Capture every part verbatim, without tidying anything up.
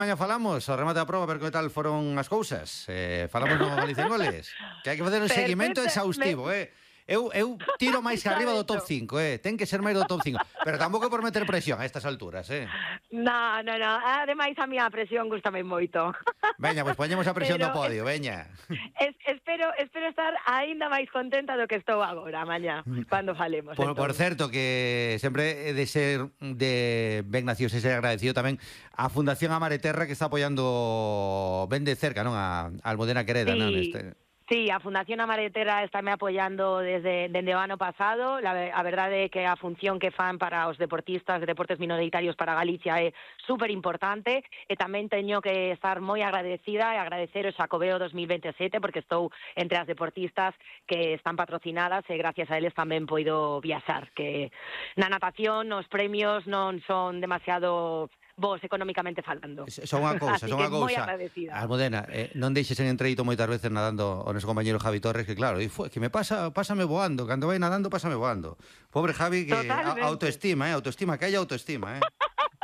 Maña falamos, ao remate da proba, ver que tal foron as cousas. Eh, falamos no Galicia en Goles. Que hai que facer un seguimento exhaustivo, eh. Eu, eu tiro máis que arriba do top cinco, eh. Ten que ser máis do top cinco. Pero tampouco por meter presión a estas alturas, eh. No, no, no. Ademais, a miña presión gustame moito. Veña, pois pues poñemos a presión Pero do podio, veña. Es, espero, espero estar aínda máis contenta do que estou agora, mañá, cando falemos. Por, por certo, que sempre he de ser de ben nacidos e ser agradecido tamén a Fundación Amare Terra, que está apoiando ben de cerca, non? A, a Almudena Quereda, Sí. non? Este... Sí, a Fundación Amaretera está me apoiando desde, desde o ano pasado. La, a verdade é que a función que fan para os deportistas de deportes minoritarios para Galicia é super importante e tamén teño que estar moi agradecida e agradecer o Xacobeo dos mil veintisiete porque estou entre as deportistas que están patrocinadas e gracias a eles tamén poido viaxar, que na natación os premios non son demasiado vos económicamente falando. Son unha cousa, son unha cousa. Almudena, eh, non deixes en entreito moitas veces nadando o noso compañero Javi Torres, que claro, foi que me pasa, pásame voando, cando vai nadando pásame voando. Pobre Javi, que a, autoestima, eh, autoestima, que hai autoestima, eh.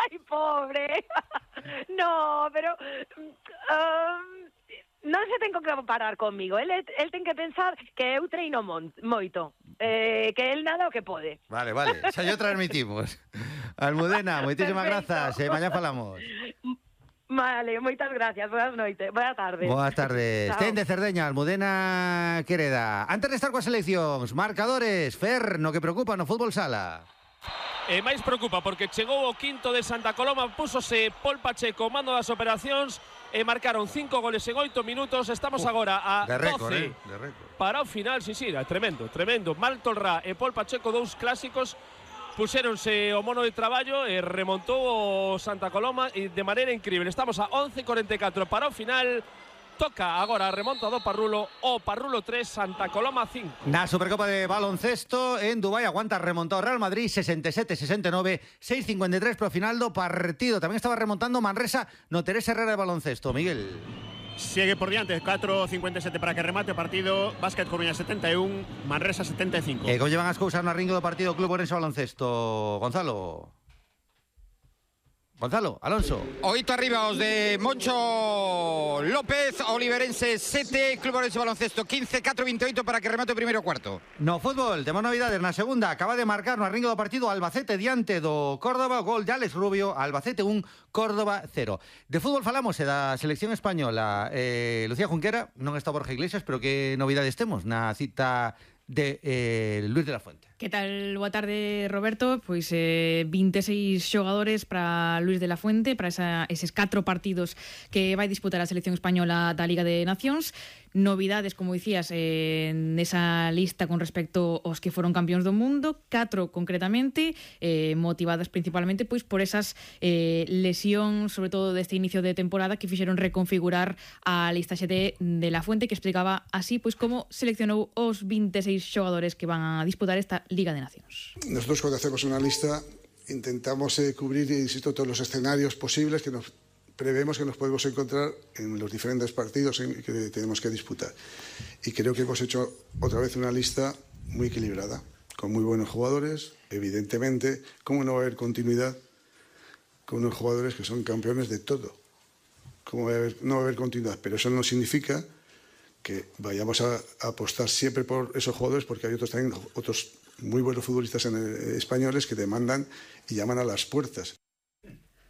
Ai, pobre. No, pero um, non se ten que comparar conmigo. El, el ten que pensar que eu treino mon, moito. Eh, que el nada o que pode. Vale, vale, xa yo transmitimos. Almudena, moitísimas grazas, e mañá falamos. Vale, moitas gracias, boas noites, boa tarde. Boas tardes. Ten de Cerdeña, Almudena Quereda. Antes de estar coas seleccións, marcadores, Fer, no que preocupa no fútbol sala. E máis preocupa porque chegou o quinto de Santa Coloma, púsose Pol Pacheco, mando das operacións, e marcaron cinco goles en oito minutos. Estamos uh, agora a de récord, doce eh? De récord. Para o final, sí, sí, tremendo, tremendo. Maltolrá e Pol Pacheco, dous clásicos, puxéronse o mono de traballo e remontou o Santa Coloma e de maneira increíble. Estamos a once cuarenta y cuatro para o final. Toca agora a remonta do Parrulo, o Parrulo tres, Santa Coloma cinco. Na Supercopa de baloncesto en Dubai aguanta remontado Real Madrid sesenta y siete sesenta y nueve, seis cincuenta y tres pro final do partido. Tamén estaba remontando Manresa no Teresa Herrera de baloncesto, Miguel. Sigue por diante, catro cincuenta y siete para que remate o partido. Básquet Coruña setenta y uno, Manresa setenta y cinco. E como llevan as cousas no ringo do partido Club Orense Baloncesto, Gonzalo? Gonzalo, Alonso. Oito arriba os de Moncho López, Oliverense sete, Club Orense Baloncesto quince, catro vinte y oito para que remate o primeiro cuarto. No fútbol, temos novidades na segunda. Acaba de marcar no arringo do partido Albacete diante do Córdoba, gol de Alex Rubio, Albacete un, Córdoba cero. De fútbol falamos e da selección española. Eh, Lucía Junquera, non está Borja Iglesias, pero que novidades temos na cita de eh, Luis de la Fuente. Que tal? Boa tarde, Roberto. Pois eh, vinte e seis xogadores para Luis de la Fuente, para esa, eses catro partidos que vai disputar a selección española da Liga de Nacións. Novidades, como dicías, eh, nesa lista con respecto aos que foron campións do mundo, catro concretamente, eh, motivadas principalmente pois por esas eh, lesións, sobre todo deste inicio de temporada, que fixeron reconfigurar a lista X D de la Fuente, que explicaba así pois como seleccionou os vinte e seis xogadores que van a disputar esta Liga de Nacións. Nosotros cuando hacemos una lista intentamos eh, cubrir, insisto, todos los escenarios posibles que nos prevemos que nos podemos encontrar en los diferentes partidos en que tenemos que disputar. Y creo que hemos hecho otra vez una lista muy equilibrada, con muy buenos jugadores. Evidentemente, ¿cómo no va a haber continuidad con unos jugadores que son campeones de todo? ¿Cómo va a haber, no va a haber continuidad? Pero eso no significa que vayamos a, a apostar siempre por esos jugadores, porque hay otros también, otros muy buenos futbolistas en el, españoles que demandan y llaman a las puertas.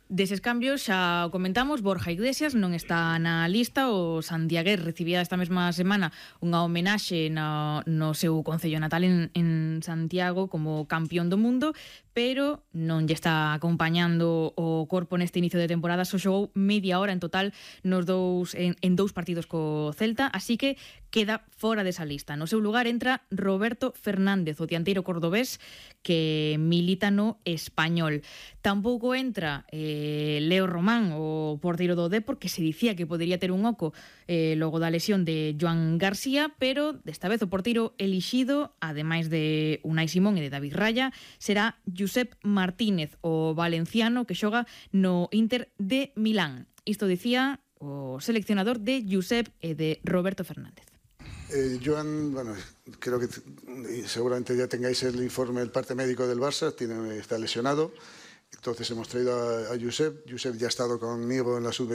Deses cambios xa o comentamos, Borja Iglesias non está na lista. O Santiagués recibía esta mesma semana unha homenaxe no, no seu concello natal en, en Santiago como campeón do mundo, pero non lle está acompañando o corpo neste inicio de temporada. Só xogou media hora en total nos dous, en, en dous partidos co Celta, así que queda fora desa lista. No seu lugar entra Roberto Fernández, o dianteiro cordobés que milita no Español. Tampouco entra eh, Leo Román, o porteiro do Depor, que se dicía que podería ter un oco eh, logo da lesión de Joan García, pero desta vez o porteiro elixido, ademais de Unai Simón e de David Raya, será Josep Martínez, o valenciano que xoga no Inter de Milán. Isto dicía o seleccionador de Josep e de Roberto Fernández. Eh, Joan, bueno, creo que seguramente ya tengáis el informe del parte médico del Barça, tiene, está lesionado. Entonces hemos traído a, a Josep. Josep ya ha estado conmigo en la sub